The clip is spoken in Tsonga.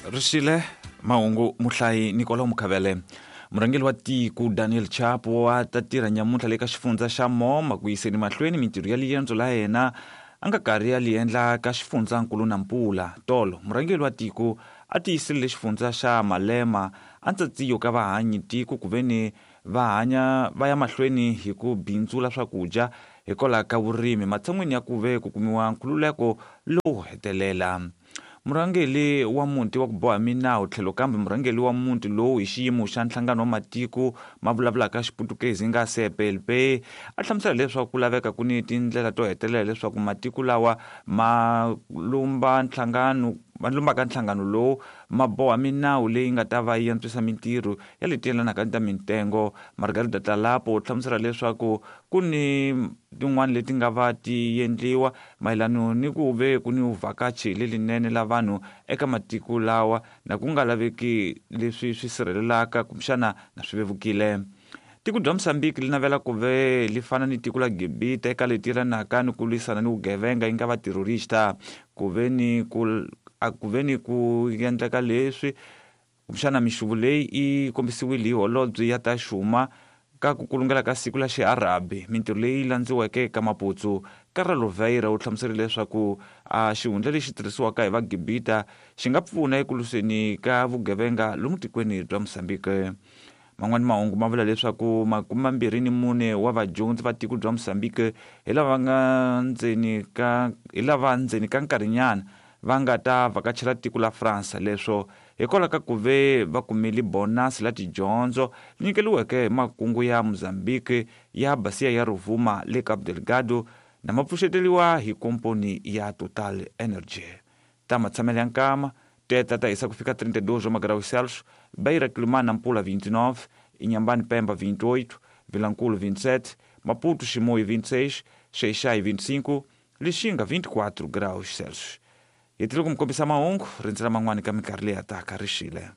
Rixile mahungu muhlayi Nicolau Mukhavele. Murhangeri wa tiko Daniel Chapo wa ta tirha nyamuntlha le ka xifundza xa Moma ku yiseni mahlweni mintirho ya liendzo la yena a nga karhi ya li endla ka xifundzankulu Nampula. Tolo murhangeri wa tiko a tiyiselele xifundza xa Malema a ntsatsiyo ka vahanyi tiko ku veni va hanya va ya mahlweni hi ku bindzula swakudya hikwalaho ka vurimi matshan'wini ya ku ve ku kumiwa nkhululeko lowu hetelela. Murhangeri wa muti wa ku boha minawu tlhelo kambe murhangeri wa muti lowu hi xiyimo xa nhlangano wa matiko ma vulavulaka Xiputukezi nga CPLP a hlamusela leswaku ku laveka ku ni tindlela to hetelela leswaku matiko lawa ma lumba nhlangano ma lumbaka nhlangano lowu ma boha minawu leyi nga ta va yi antswisa mintirho ya leti yelanaka ni ta mintengo. Margarida Tlalapo u hlamusela leswaku ku ni tin'wana leti nga va ti endliwa mayelano ni ku ve ku ni vhakachi lelinene la vanhu eka matiko lawa na ku nga laveki leswi swi sirhelelaka kumbexana na swi vevukile. Tiko bya Mozambique li navela ku ve li fana ni tiko la Gibita eka leti yelanaka ni ku lwisana ni vugevenga yi nga va terrorista ku ve ni ku ku ve ni ku endleka leswi kumbexana mixuvo leyi yi kombisiwile hi holobye ya ta xuma ka ku kulungela ka siku la Xiarabi mintirho leyi landziweke ka Maputsu. Karla Louveira u hlamuserile leswaku a xihundla lexi tirhisiwaka hi Vagibita xi nga pfuna eku lwiseni ka vugevenga lomu tikweni bya Mozambique. Man'wana mahungu ma vula leswaku 24 wa vadyondzi va tiko bya Mozambique hi lava nga ndzeni ka hi lava ndzeni ka nkarhinyana va nga ta vhakachela tiko la France leswo hikwalaho ka ku ve va kumile bonasi la tidyondzo nyikeliweke hi makungu ya Mozambique ya Bacia ya Rovuma le Cabo Delgado na ma pfuxeteliwa hi komponi ya Total Energy. Ta matshamelo ya nkama teta ta hisa ku fika 32 wa magraus Celsius, Beira Quelimane Nampula 29, Inhambane Pemba 28, Vilankulu 27, Maputo Chimoio 26, Xai-Xai 25, Lixinga 24 graus Celsius. Hi tile ku mi kombisa mahungu rindzela man'wani ka minkarhi leyi ya taka rixile.